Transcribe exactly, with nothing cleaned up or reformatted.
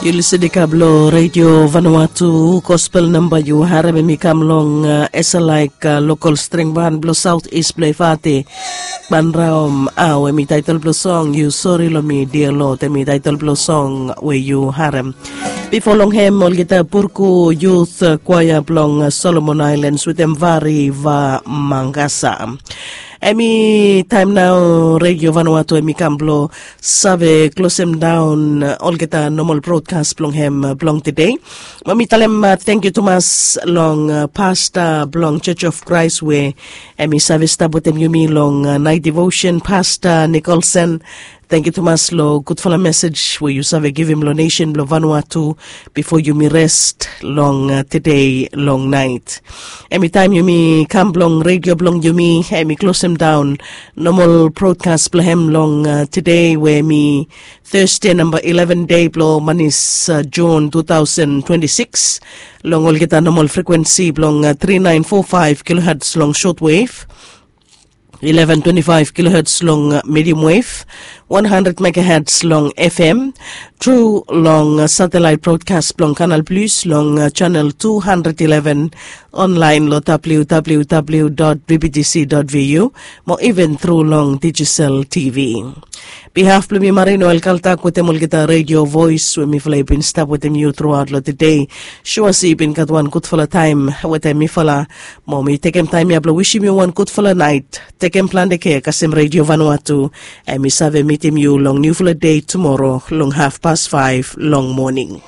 Yu lisin i kam long redio Vanuatu. Gospel namba yu harem em i kam long, uh, esalaik, uh, lokal string ban blong saut is blong efate. Banraom au em i taitel blong song yu sori long mi dia lot em i taitel blong song we yu harem. Bifo long hem olgeta purku yut, uh, kwaia blong, uh, Solomon Ailens wetem vari va mangasa. Em i taem nao redio Vanuatu em i kam blong save klosem daon, uh, olgeta nomal brodkas blong hem, uh, blong tede. Mo mi talem, uh, tangkiu tumas long, uh, pasta blong Church of Christ we em i save stap wetem yumi long, uh, nait devotion, Pasta Nikolson. Tangkiu tumas long gudfala mesej we yu save givim long nesen blong Vanuatu bifo yumi rest long, uh, tede long nait. Em i taem yumi kam blong redio blong yumi em i klosem daon nomal brodkas blong hem long, uh, tede we em i Thursday namba eleven dei blong manis, uh, Jun two thousand twenty-six. Long olgeta nomal frekuensi blong, uh, three nine four five kilohertz long shortwave, eleven twenty-five kilohertz long, uh, medium wave, one hundred megahertz long F M, tru long, uh, satellite broadcast blong Canal Plus long, uh, channel two hundred eleven, online long W W W dot B B T C dot V U, mo even tru long digital T V. Bihaf blong mi Marino El Kaltak wetem olgeta radio voice we mifala i bin stap wetem yu truaot long tede. Sua se i bin gat wan gudfala taem wetem mifala. Mo mi tekem taem ya blong wisim yu wan gudfala nait. Tekem plante kea kasem redio Vanuatu. Em i save mitim yu long niufala dei tumoro long haf pas faef long moning.